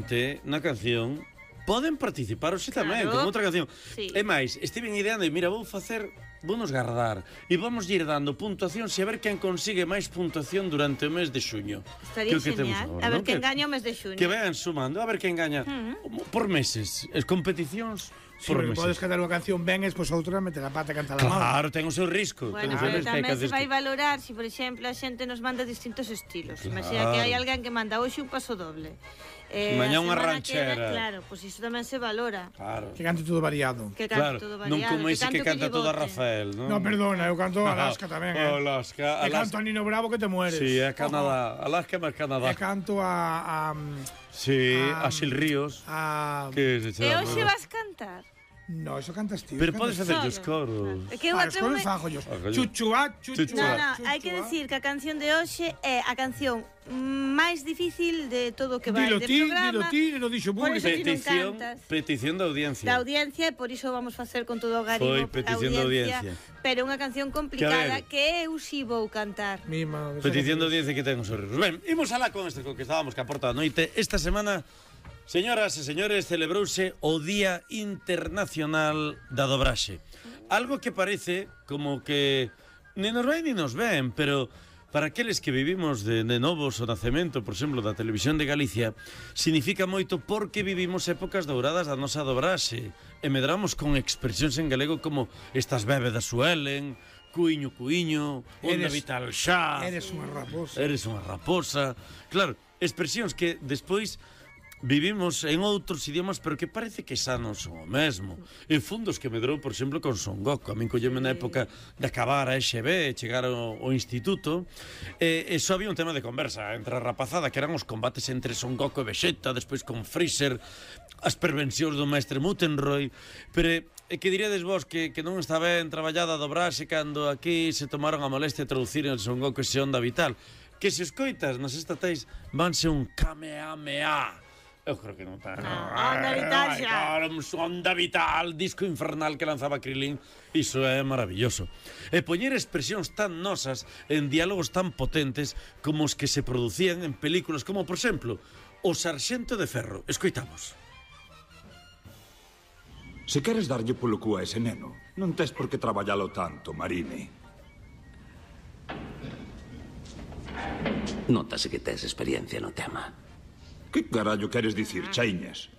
noite, na canción, poden participar hoxe tamén, con outra canción. É máis, estiven ideando e mira, vounos guardar e vamos ir dando puntuación e a ver quen consigue máis puntuación durante o mes de xuño. Estaría genial. A ver quen gaña o mes de xuño. Que vean sumando, a ver quen gaña por meses. As competicións por meses. Podes cantar unha canción ben e despois outra meter a pata e cantar a mal. Claro, ten o seu risco. Bueno, pero tamén se vai valorar se, por exemplo, a xente nos manda distintos estilos. Imagina que hai alguén que manda hoxe un paso doble. Mañá unha ranchera. Claro, pois iso tamén se valora. Claro. Que cante todo variado. Que cante todo variado. Non como ese que canta todo a Rafael, non? No, perdona, eu canto Alaska tamén. Alaska. E canto a Nino Bravo que te mueres. Sí, é Canadá. Alaska máis Canadá. E canto a sí, a Xil Ríos. Que se chama. E hoxe vas cantar? No, eso cantas ti. Pero podes facer os coros. Os coros fajollos. Chuchuá, chuchuá. No, hai que decir que a canción de hoxe é a canción máis difícil de todo o que vai de programa. Dilo ti, non dixo moi. Petición da audiencia. Da audiencia, e por iso vamos facer con todo o garimo. Foi petición da audiencia. Pero unha canción complicada que eu si vou cantar. Petición da audiencia que ten os horribles. Ben, imos alá con este, con que estábamos que aporta a noite. Esta semana, señoras e señores, celebrouse o Día Internacional da Dobraxe. Algo que parece como que ni nos vai ni nos ven, pero para aqueles que vivimos de novos o nacemento, por exemplo, da Televisión de Galicia, significa moito porque vivimos épocas douradas da nosa dobraxe e medramos con expresións en galego como estas bébedas suelen, cuiño, cuiño, onda vital xa. Eres unha raposa. Eres unha raposa. Claro, expresións que despois vivimos en outros idiomas, pero que parece que xa non son o mesmo. E fundos que medrou, por exemplo, con Son Goku. A min colleme na época de acabar a EXB, chegar ao instituto, e só había un tema de conversa entre a rapazada, que eran os combates entre Son Goku e Vegeta, despois con Freezer, as pervencións do mestre Muttenroy, pero que diríades vos que non está ben traballada a dobrarse cando aquí se tomaron a molestia de traducir en Son Goku ese onda vital, que se escoitas nas estatais vanse un Kamehameha. Eu creo que non está. Onda vital xa. Onda vital, disco infernal que lanzaba Krilin. Iso é maravilloso. E poñer expresións tan nosas en diálogos tan potentes como os que se producían en películas como, por exemplo, O Sarxento de Ferro. Escoitamos. Se queres darlle polo cu a ese neno, non tes por que traballalo tanto, Marini. Nótase que tes experiencia no tema. Que carallo queres dicir, Chaiñas?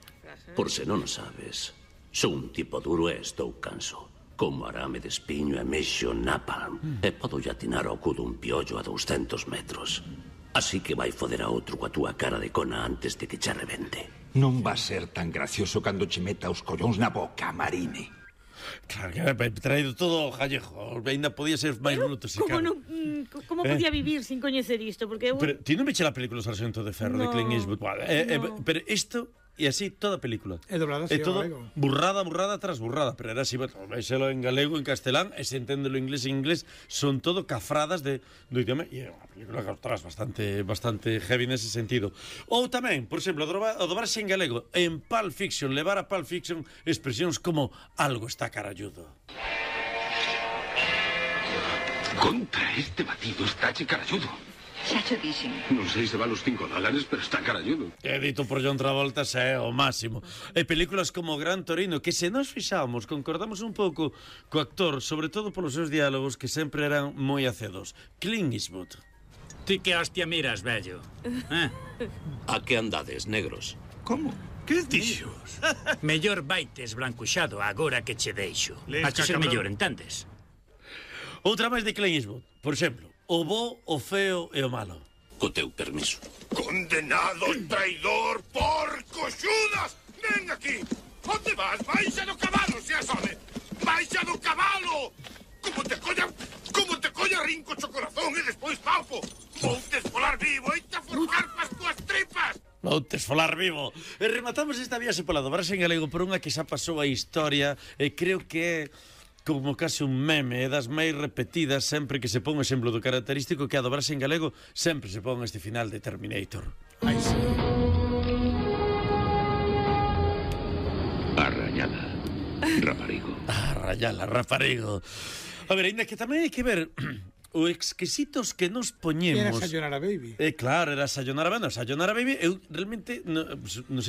Por se non o sabes, sou un tipo duro e estou canso. Como arame de espiño e mexo napalm, e podo atinar ao cu dun piollo a 200 metros. Así que vai foder a outro coa túa cara de cona antes de que che rebente. Non va ser tan gracioso cando che meta os collóns na boca, Marini. Claro, que me traído todo gallego. Ainda podía ser máis bruto se cabe. Como podía vivir sin coñecer isto? Porque pero ti non veche a película O Sarxento de Ferro de Clint Eastwood? Pero isto e así toda a película. É doblada así, todo burrada tras burrada, pero era así, véxelo en galego, en castelán, e se enténdelo en inglés, son todo cafradas do idioma, e é unha película que tras bastante heavy nese sentido. Ou tamén, por exemplo, o dobrarse en galego, en Pulp Fiction, levar a Pulp Fiction expresións como algo está caralludo. Contra este batido está caralludo. Xa xo dixen. Non sei se vale os $5, pero está caralludo. Que dito por John Travolta é o máximo. E películas como Gran Torino, que se nos fixamos, concordamos un pouco co actor, sobre todo polos seus diálogos que sempre eran moi acedos. Clint Eastwood. Ti que hostia miras, vello? A que andades, negros? Como? Que dixos? Mellor baites blancuxado agora que che deixo. Hache ser mellor, entendes? Outra máis de Clint Eastwood, por exemplo, o bo, o feo e o malo. Co teu permiso. Condenado traidor, porco, xudas! Ven aquí! Onde vas? Baixa do cabalo, se asome! Baixa do cabalo! Como te colla rinco cho corazón e despois paupo! Voute esfolar vivo e te forjar pas túas tripas! Voute esfolar vivo! E rematamos esta viaxe pola dobrarse en galego por unha que xa pasou a historia e creo que é como case un meme, das máis repetidas sempre que se pon o exemplo do característico que a dobrarse en galego sempre se pon este final de Terminator. Ai, sí. Arrayala, raparigo. Arrayala, raparigo. A ver, ainda que tamén hai que ver o exquisitos que nos poñemos. Era Sayonara Baby. Claro, era Sayonara Baby. Sayonara Baby, eu realmente non sei